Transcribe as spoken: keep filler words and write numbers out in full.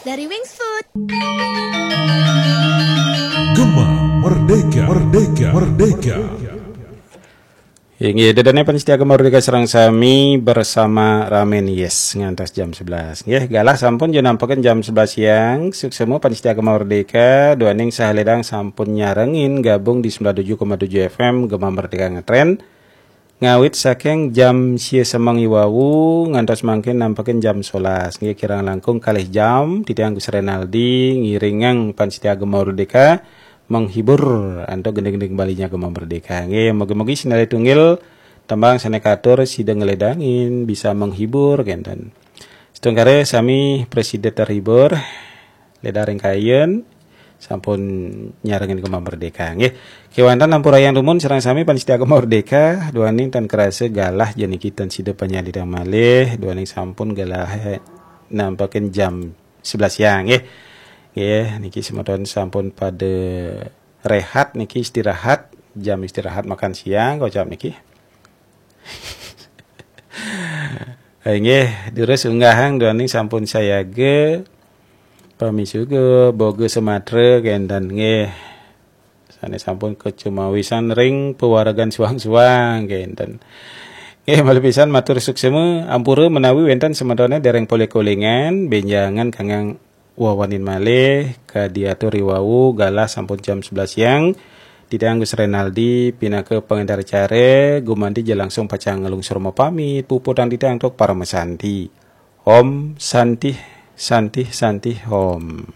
dari Wings Food. Gema Merdeka, Merdeka, Merdeka. Inggih, ida dané pamiarsa Gema Merdeka sareng sami bersama Ramen Yes ngantos jam sebelas. Nggih, galah sampun jam nampakin jam sebelas siang. Suksma pamiarsa Gema Merdeka, duaning saha ledang sampun nyarengin gabung di sembilan tujuh koma tujuh F M Gema Merdeka Ngetren. Ngawit saking jam sia semeng i wau ngantos mangkin nampakin jam sebelas. Nggih, kirang langkung kalih jam titiang Gus Renaldi ngiringang pamiarsa Gema Merdeka menghibur antuk gending-gending Balinya Gema Merdeka. Nggih, mugi-mugi sinalih tunggil tembang sané katur sida ngledangin bisa menghibur kénten. Setungkare sami prasida terhibur, ledang ring kayun sampun nyarengin Gema Merdeka. Nggih. Kéwanten ampurayang dumun sareng sami pamiarsa Gema Merdeka, duaning tan kerasa galah jani kita sida panyalidang malih, duaning sampun galah nampakin jam sebelas siang nggih. Nggih, niki semeton sampun pada rehat niki, istirahat, jam istirahat makan siang kocap niki. Inggih, durus unggahang duaning sampun sayaga pamisuga boga Sumatra kénten nggih. Sané sampun kacumawisan ring pawaregan suang-suang kénten. Nggih, malih pisan matur suksma, ampura menawi wénten semetoné dereng polih kolingan, bénjangan kangge wawanin malih, kadi atur i wau galah sampun jam sebelas siang. Titiang Gus Renaldi pinaka pangénter acara, gumanti ja langsung pacang nglungsur mapamit, puputang titiang antuk paramasanti. Om Santih, Santih, Santih, Om.